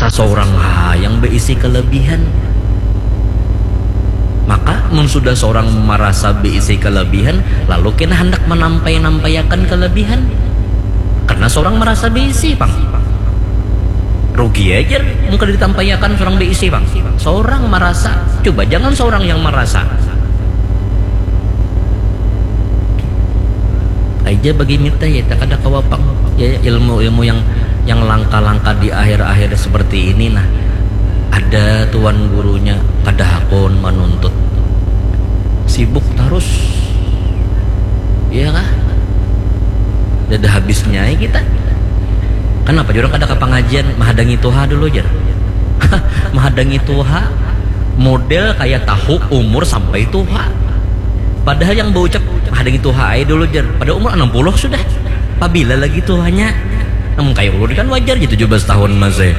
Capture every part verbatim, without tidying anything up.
Seorang ha yang beisi kelebihan. Maka mun sudah seorang merasa beisi kelebihan, lalu kena hendak menampai-nampaiakan kelebihan. Karena seorang merasa beisi pang. Rugi aja muka ditampaiakan seorang beisi pang. Seorang merasa, coba jangan seorang yang merasa. Aja bagi mita ya, tak ada kawapang ya, ilmu-ilmu yang yang langka-langka di akhir-akhir seperti ini. Nah, ada tuan gurunya kada hakun menuntut, sibuk terus, iya kah? Ada habisnya ya kita. Kenapa orang kada ke pengajian? Menghadangi tuha dulu, jar. Menghadangi tuha, model kayak tahu umur sampai tuha. Padahal yang berucap menghadangi tuha aja dulu, jar. Pada umur enam puluh sudah. Pabila lagi tuhanya? Namun kayak ulun kan wajar gitu, tujuh belas tahun masih.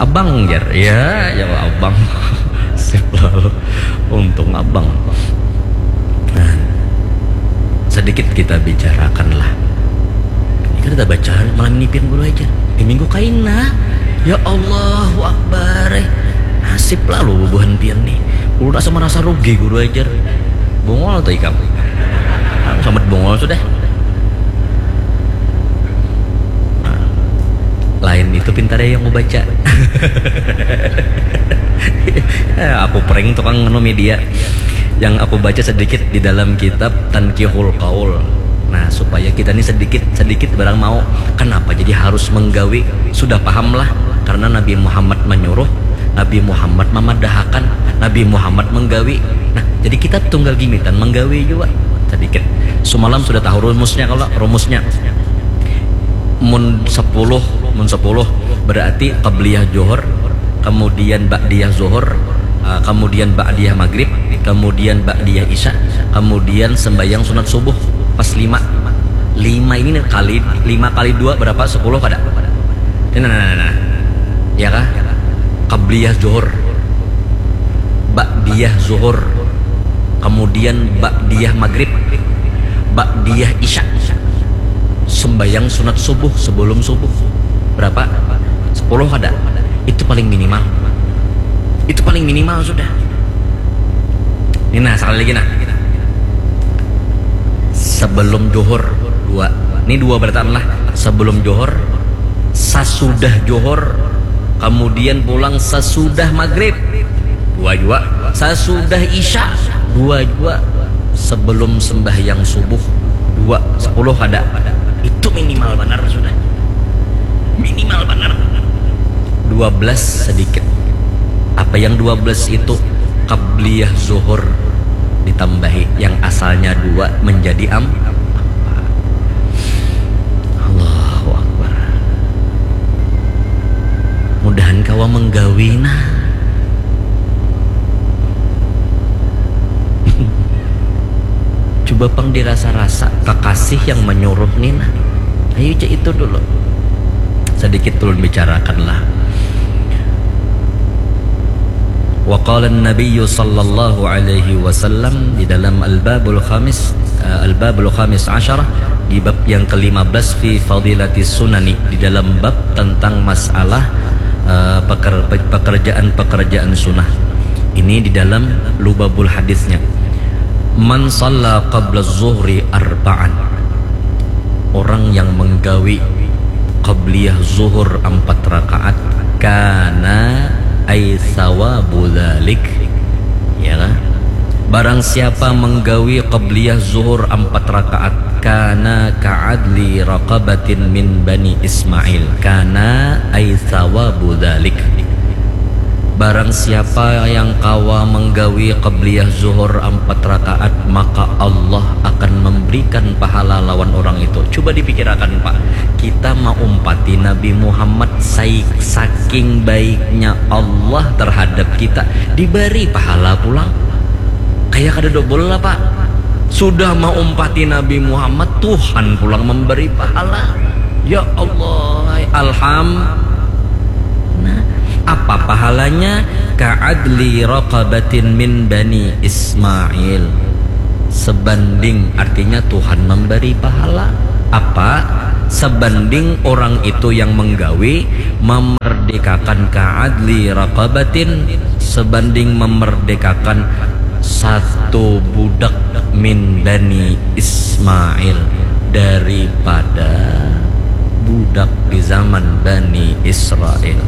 Abang, jar. Ya, ya abang. Sip lalu. Untung abang. Nah, sedikit kita bicarakan lah. Ini kan kita baca malam ini pian guru aja. Di minggu kaina. Ya Allahu Akbar. Eh. Nasib lalu bubuhan pian nih. Ulun asa merasa rugi guru ajar. Bungol tuh ikam. Selamat bungol sudah. Nah, lain itu pintar ya yang mau baca. Eh, aku prank tukang nganu media. Yang aku baca sedikit di dalam kitab Tankihul Qaul. Nah, supaya kita ini sedikit sedikit barang mau. Kenapa jadi harus menggawi? Sudah pahamlah, karena Nabi Muhammad menyuruh, Nabi Muhammad memadahakan, Nabi Muhammad menggawi. Nah, jadi kita tunggal gimitan menggawi juga sedikit. Semalam sudah tahu rumusnya, kalau rumusnya mun sepuluh, mun sepuluh berarti qabliyah Johor, kemudian ba'diyah Zuhur, uh, kemudian ba'diyah Maghrib, kemudian ba'diyah Isya, kemudian sembahyang sunat subuh pas lima. Lima ini kali, lima kali dua berapa? Sepuluh kada? Ini nah, nah, nah, nah. Ya kah? Qabliyah Zuhur, ba'diyah Zuhur, kemudian ba'diyah Maghrib, ba'diyah Isya, sembahyang sunat subuh sebelum subuh. Berapa? Sepuluh ada. Itu paling minimal. Itu paling minimal sudah. Ini nah, sekali lagi nah. Sebelum Johor dua. Ini dua berataan lah. Sebelum Johor, sasudah Johor, kemudian pulang sasudah Maghrib. Dua juga. Sasudah Isya, dua juga. Sebelum sembahyang subuh, dua. Sepuluh ada. Itu minimal benar sudah. Minimal benar. Dua belas sedikit. Apa yang dua belas itu? Qabliyah Zuhur ditambahi yang asalnya dua menjadi am-, Allahu Akbar. Mudahan kawa menggawi nah. Coba pang dirasa-rasa kekasih yang menyuruh ni nah. Ayo cek itu dulu. Sedikit ulun bicarakan lah. Wa qala Nabi sallallahu alaihi wasallam di dalam Al-Babul Khamis, eh, Al-Babul Khamis Asyarah, di bab yang kelima belas fi fadilati sunani, di dalam bab tentang masalah, eh, peker-, pekerjaan-pekerjaan sunnah. Ini di dalam Lubabul Hadisnya. Man salla qabla zuhri arba'an. Orang yang menggawi qabliyah zuhur empat rakaat, kana ay sawabu dzalik. Ya kan? Barang siapa menggawi qabliyah zuhur empat rakaat, kana ka'adli raqabatin min bani Ismail. Kana ay sawabu dzalik. Barang siapa yang kawa menggawi qabliyah zuhur empat rakaat, maka Allah akan memberikan pahala lawan orang itu. Coba dipikirakan, Pak. Kita maumpati Nabi Muhammad, sai-, saking baiknya Allah terhadap kita, diberi pahala pulang. Kayak kada dobel lah, Pak. Sudah maumpati Nabi Muhammad, Tuhan pulang memberi pahala. Ya Allah, alham. Nah, apa pahalanya? Ka'adli raqabatin min bani Ismail. Sebanding, artinya Tuhan memberi pahala. Apa? Sebanding orang itu yang menggawi, memerdekakan Dikakan ka'adli raqabatin, sebanding memerdekakan satu budak min Bani Ismail, daripada budak di zaman Bani Israel.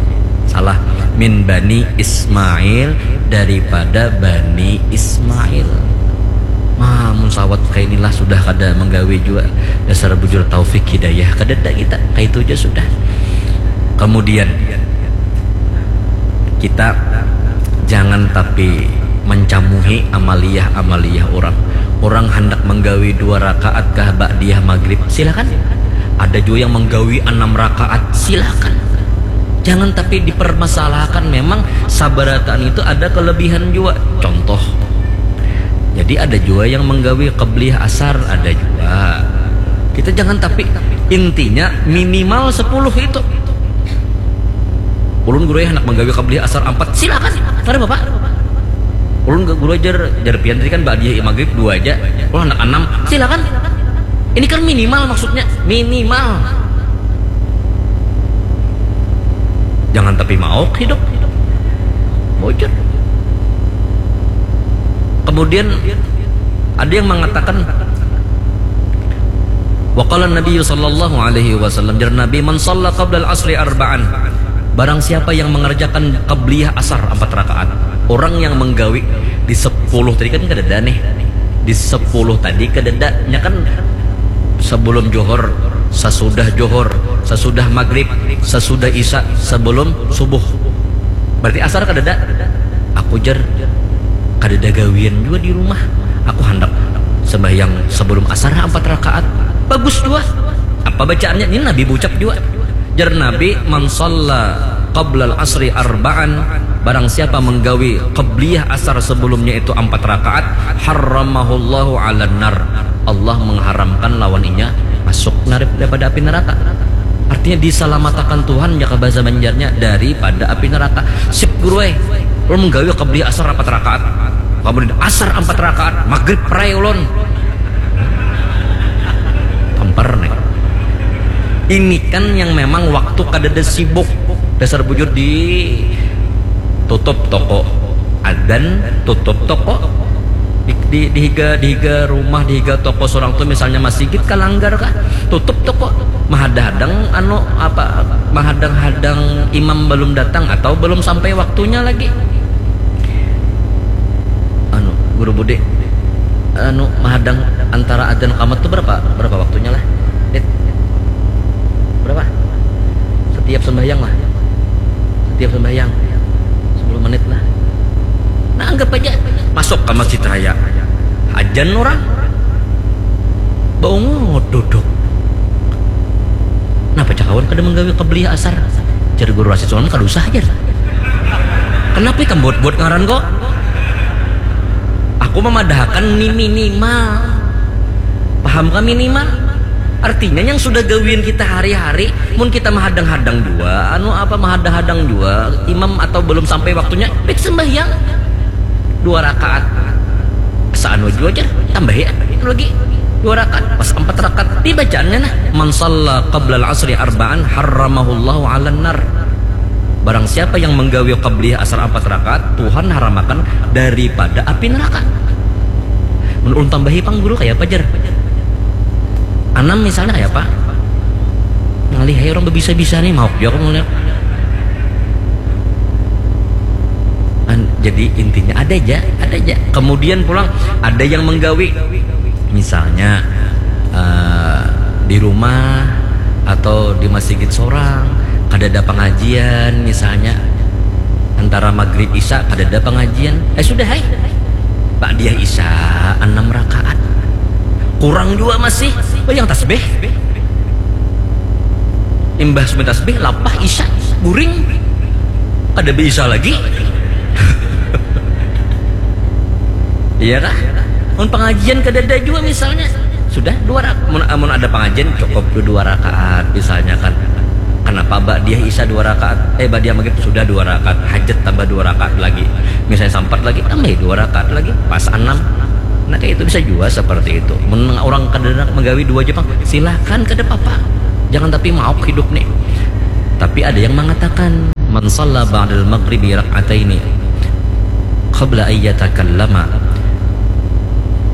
Salah, min Bani Ismail, daripada Bani Ismail. Mamun sawat kainilah sudah kada menggawi jua, dasar bujur taufik hidayah, kadada kita, kaitu ja sudah. Kemudian kita jangan tapi mencamuhi amaliyah-amaliyah orang. Orang hendak menggawi dua rakaat kah ba'diyah maghrib, silakan. Ada juga yang menggawi enam rakaat, silakan. Jangan tapi dipermasalahkan, memang sabarataan itu ada kelebihan juga. Contoh, jadi ada juga yang menggawi qabliyah asar, ada juga. Kita jangan tapi, intinya minimal sepuluh itu. Ulun guru ya hendak menggawi qabliyah asar empat, silakan. Kada apa-apa. Ulun guru ajar, jar pian tadi kan ba'diyah maghrib dua aja. Ulun hendak enam, silakan. Ini kan minimal maksudnya, minimal. Jangan tapi mauk hidup. Bujur. Kemudian ada yang mengatakan, waqala Nabi sallallahu alaihi wasallam, jar Nabi, man shalla qabla al-asri arba'an, barang siapa yang mengerjakan qabliyah asar empat rakaat, orang yang menggawi di sepuluh tadi kan kadada nih, di sepuluh tadi kadada, nya kan sebelum johor, sesudah johor, sesudah maghrib, sesudah isya, sebelum subuh. Berarti asar kadada. Aku jar, kadada gawian jua di rumah. Aku handak sembahyang sebelum asar empat rakaat. Bagus jua. Apa bacaannya? Ini Nabi bucap jua. Jar Nabi, man shalla qablal asri arba'an, barang siapa menggawi qabliyah asar sebelumnya itu empat rakaat, harramahullahu 'alan nar. Allah mengharamkan lawan inya masuk narip daripada api neraka. Artinya disalamatakan Tuhan, jaka bahasa Banjarnya, daripada api neraka. Sip guru ai, ulun menggawi qabliyah asar empat rakaat. Kemudian asar empat rakaat, maghrib perai ulun. Tampar nih. Ini kan yang memang waktu kadada sibuk. Dasar bujur di tutup toko. Adan tutup toko. Di, di, di higa, di higa rumah, di higa toko seorang tuh misalnya masigit ka langgar kah, tutup toko. Mahadang-hadang anu apa, mahadang-hadang imam belum datang atau belum sampai waktunya lagi. Anu, guru Budi, anu, mahadang antara adzan qamat tuh berapa, berapa waktunya lah? Dit. Berapa? Setiap sembahyang lah. Setiap sembahyang. Sepuluh menit lah. Nah, anggap aja masuk ke masjid raya. Ajan orang. Baungut duduk. Napa cakawan kada menggawi qabliyah asar? Jar guru Rasid Sulam kada usah jar. Kenapa ikam buat-buat ngaran kok? Aku memadahakan ni minimal. Paham kah minimal? Artinya yang sudah gawian kita hari-hari, mun kita mahadang-hadang jua, anu apa mahadang-hadang jua, imam atau belum sampai waktunya, baik sembahyang dua rakaat. Saanu jua jar, tambahi anu lagi dua rakaat, pas empat rakaat dibacaannya nah, man shalla qablal asri arba'an harramahullahu 'alan nar. Barang siapa yang menggawi qabliyah asar empat rakaat, Tuhan haramakan daripada api neraka. Mun ulun tambahi pang guru, kaya apa jar? Anam misalnya kaya apa? Ngalih ai orang bebisa-bisa nih, mauk jua aku melihat. An-, jadi intinya ada aja, ada aja. Kemudian pulang ada yang menggawi, misalnya eh, di rumah atau di masjid sorang, kada ada pengajian misalnya, antara maghrib isya kada ada pengajian, eh sudah hai, ba'diyah isya enam rakaat, kurang jua masih, bayang tasbih. Imbah sumit tasbih, lapah isya, guring. Kada bisa lagi. Iya kah? Mun pengajian kadada jua misalnya. Sudah dua rakaat. Mun, mun ada pengajian cukup tu dua rakaat misalnya kan. Kenapa ba'diyah isya dua rakaat? Eh, ba'diyah maghrib sudah dua rakaat. Hajat tambah dua rakaat lagi. Misalnya sampat lagi, tambahi dua rakaat lagi. Pas anam. Nah, kayak itu bisa juga seperti itu. Mun orang kadada menggawi dua aja pang, silahkan, kada apa-apa. Jangan tapi mauk hidup nih. Tapi ada yang mengatakan, Man shalla ba'dal maghribi rak'ataini qabla an yatakallama,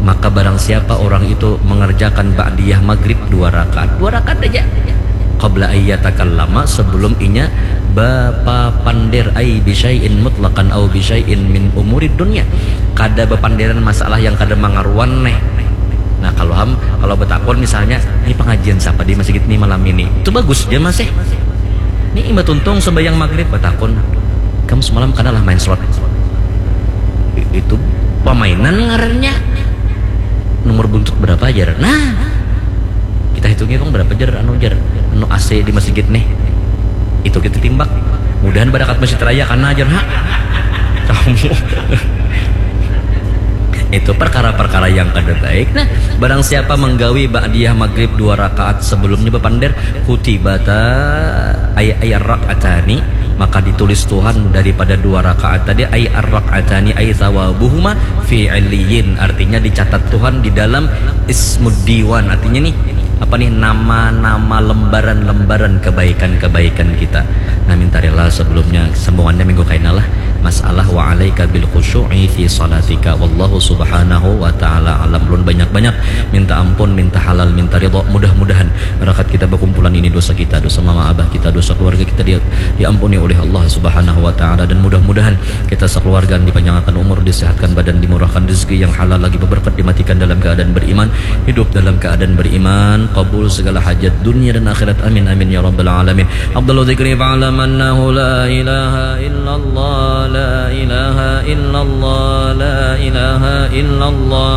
maka barang siapa orang itu mengerjakan ba'diyah maghrib dua rakaat, dua rakaat aja, qabla an yatakallama, sebelum inya bapapander, ai bisyai'in mutlaqan au bisyai'in min umurid dunya, kada bapanderan masalah yang kada mangaruan neh. Nah, kalau ham, kalau betakon misalnya, ini pengajian siapa di masjid nih malam ini? Itu bagus dia masih. Ini imba tuntung sembahyang maghrib, batakun, kamu semalam kanalah main slot? Itu pemainan ngarannya. Nomor buntut berapa aja? Nah, kita hitungi bang berapa jar anu jar anu A C di masjid nih. Itu kita timbak. Mudahan barakat masjid raya karena ajar ha. Kamu. Itu perkara-perkara yang kada baik. Nah, barang siapa menggawi ba'diyah maghrib dua rakaat sebelumnya bapander, kutibata ay ay rak'atani, maka ditulis Tuhan daripada dua rakaat tadi, ay ar-rak'atani ay thawabuhuma fi illiyin, artinya dicatat Tuhan di dalam ismud diwan, artinya nih apa nih nama-nama lembaran-lembaran kebaikan-kebaikan kita. Nah, minta rela sebelumnya sambungannya minggu kaina lah. Masalah wa alaika bil khusyu'i fi salatika wallahu subhanahu wa ta'ala alam. Lun banyak-banyak minta ampun, minta halal, minta ridho. Mudah-mudahan barakat kita berkumpulan ini, dosa kita, dosa mama abah kita, dosa keluarga kita dia diampuni oleh Allah subhanahu wa ta'ala. Dan mudah-mudahan kita sekeluarga dipanjangkan umur, disehatkan badan, dimurahkan rezeki yang halal lagi berberkat, dimatikan dalam keadaan beriman, hidup dalam keadaan beriman, kabul segala hajat dunia dan akhirat. Amin amin ya rabbal alamin. Abdul dzikri fa'lam annahu la ilaha illallah, la ilaha illallah, la ilaha illallah.